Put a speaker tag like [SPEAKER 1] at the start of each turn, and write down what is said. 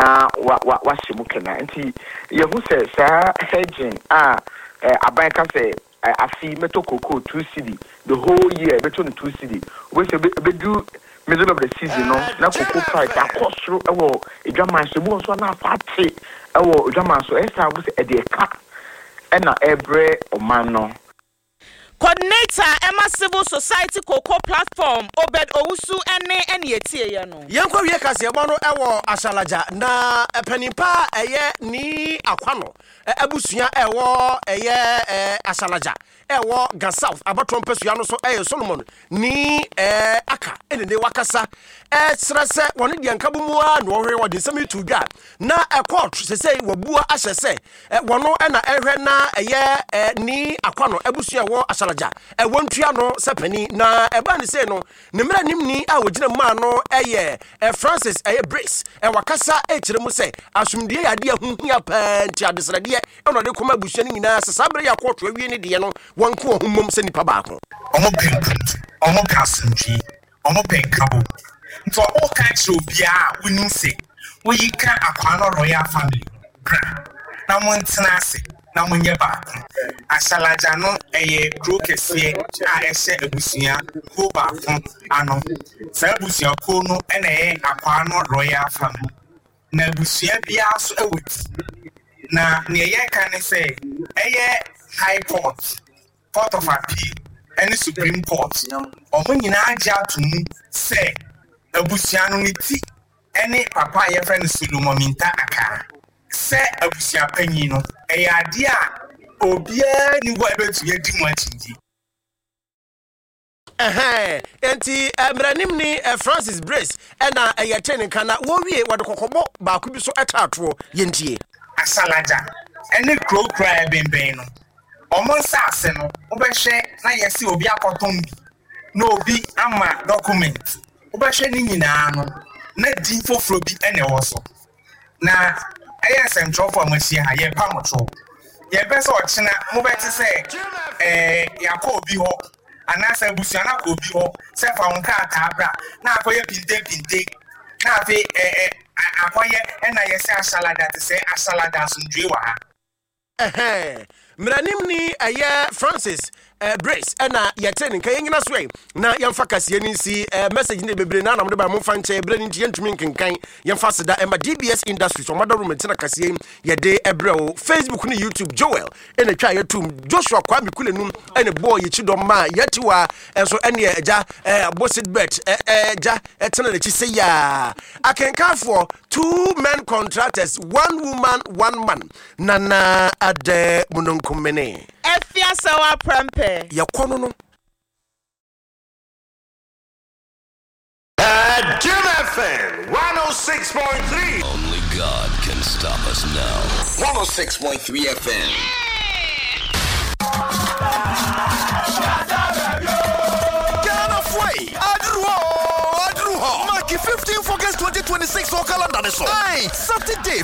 [SPEAKER 1] na wa wa wahyɛ mu kena. Nti yɛhu sɛ saa hedging a aban ka sɛ afe yi mɛtɔ cocoa 2 cedi, the whole year bɛtɔ no 2 cedi, wobɛsɛ ɛbɛdu middle of the season no na cocoa price akɔ soro ɛwɔ edwaman so, ebi wɔ nso a na afa ate ɛwɔ edwaman so. Ɛyɛ saa wobɛsɛ ɛde ɛka ɛna ɛbrɛ ɔman no.
[SPEAKER 2] Coordinator ɛma Civil Society Cocoa Platform, Obed Owusu, ɛne ɛne etieɛ no.
[SPEAKER 3] Yɛnkɔ wie kaseɛbɔ no ɛwɔ Ahyalagya na panimpa a ɛyɛ Nii Akwano abusua ɛwɔ ɛyɛ Ahyalagya ɛwɔ Ga South abatoɔ mpasua no so, ɛyɛ Solomon Nii Aka, ɛne ne wakasa ɛkyerɛ sɛ wɔne deɛ nka mu a na wɔhwɛ wɔde nsɛm yi to dwa na ɛkɔɔto sɛsɛi wabua ahyɛ sɛ wɔno ɛna ɛhwɛ na ɛyɛ Nii Akwano abusua ɛwɔ Ahyalagya ɛwɔ ntua no sɛ panin. Na ɛbaa ne sei no, ne mmerɛ nimni a wɔgyina mu maa no ɛyɛ Francis ɛyɛ Brace, ɛwakasa ɛkyerɛ mu sɛ asomdue yɛ adeɛ ho hia paa, nti adesrɛdeɛ ɛna ɔde kɔma abusua no nyinaa sɛ saa berɛ yɛ akɔɔto awie ne deɛ no, wɔnko wɔn ho mmom sɛ nnipa baako.
[SPEAKER 4] Ɔmo pɛ mpuntu, ɔmo pɛ asomdwee, ɔmo pɛ nkabom. Nti ɔmo ka kyerɛ obiara a wonim sɛ woyi ka Akwaano Royal Family ho, bra na mo ntena ase na mo nyɛ baako. Ahyalagya no ɛyɛ kuro kɛseɛ a ɛhyɛ abusua kuo baako ano. Saa abusua kuo no na ɛyɛ Akwaano Royal Family. Na abusua biara nso wɔ ti. Na nea yɛka ne sɛ ɛyɛ High Court, Court of Appeal ne Supreme Court, wɔn nyinaa agye ato mu sɛ abusua no ne ti ne papa a yɛfrɛ no Solomon Minta Akaa. Sɛ abusua panyin no, ɛyɛ adeɛ a obiara nni hɔ a ɛbɛtumi adi mu akyinnye.
[SPEAKER 3] Ɛhɛn, enti mmaranimni Francis Brace na ɛyɛ tee ne nka, na wɔwie wɔde kɔkɔbɔ baako bi so taa toɔ. Yɛntie.
[SPEAKER 4] Asalagya ne kuro kuro a ɛbɛnbɛn no, wɔn nsaase no, wobɛhwɛ na yɛse obi akɔtɔn bi na obi ama document, wobɛhwɛ ne nyinaa no, na din foforɔ bi na ɛwɔ so. Na ɛyɛ nsɛmtwerɛfoɔ a moahyia ha, yɛrepa mo kyɛw. Yɛmpɛ sɛ ɔkyena mobɛte sɛ ɛɛ yɛakɔ obi hɔ anaasɛ abusua no akɔ obi hɔ sɛ fa wo nkrataa bra na akɔyɛ pintepinte na afei ɛ ɛ akɔyɛ ɛna yɛsɛ ahyalada te sɛ ahyalada asomdwoe wɔ ha.
[SPEAKER 3] Ɛhɛɛ, mmaranimni ɛyɛ Francis Brace ɛna yɛte ne nka. Yɛnyina so ɛ na yɛmfa kaseɛ no nsi. Message no bebree na anam de ba, momfa nkyɛ, berɛ no nti yɛntumi nkenkan. Yɛmfa aseda ɛma DBS Industries, ɔmada room nti na kaseɛ yi yɛde ɛbrɛ wo. Facebook ne YouTube, Joel ɛna twa yɛtum, Joshua Kwame Kulenum ɛna bɔɔ yɛkyi dɔm ma yɛtiwa ɛnso ɛneɛ agya ɛɛ seat belt ɛɛ gya ɛtena n'akyi sɛ yaa. Akenkanfoɔ, two men contractors, one woman, one man. Nana Adɛ Mununkumene.
[SPEAKER 2] Afiasawa Prɛmpɛ.
[SPEAKER 3] Yɛkɔ no no.
[SPEAKER 5] Jim FM 106.3.
[SPEAKER 6] Only God can stop us now.
[SPEAKER 5] 106.3 FM.
[SPEAKER 7] Ghana Fue, aduru hɔ, aduru hɔ. Mark 15 August 2026 wɔ calendar ne so. Aye, Saturday.